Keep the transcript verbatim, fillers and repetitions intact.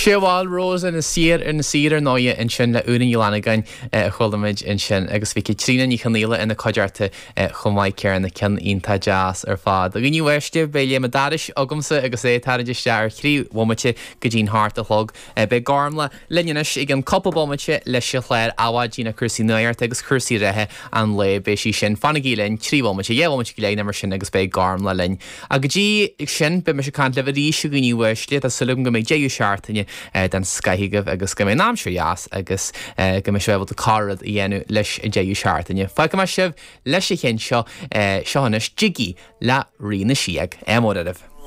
Sé bhil Rose ina saor ar na saor ar ndóigh ansin le Úna Ní Fhlannagáin a chuala muid ansin agus bhí Caitríona Ní Chonaola ina cuideachta chomh maith céanna ceann iontach deas ar fad. A dhaoine uaisle beidh Liam Dairis agamsa agus é ag tarraingt isteach ar thrí bhomaite go dtí'n hocht a chlog. Beidh Gormlaith linn anois i gceann cúpla bomaite leis an chlár Adhmhaidin na cúrsaí nuachta agus cúrsaí reatha an lae beidh sí sin fanaigí linn trí bhomaite dhá bhomaite go leith mar sin agus beidh Gormlaith linn. A go dtí sin beidh mise ag caint libh arís a dhaoine uaisle tá súil agam go mbeidh deireadh seachtaine den scoth agaibh agus go mbeidh an aimsir dheas agus go mbeidh sibh ábalta corrad a dhéanamh leis an deireadh seachtaine. Fágfaidh mé sibh leis an cheann seo seo anois Jiggy le Rí na Síog. Ádh mór oraibh.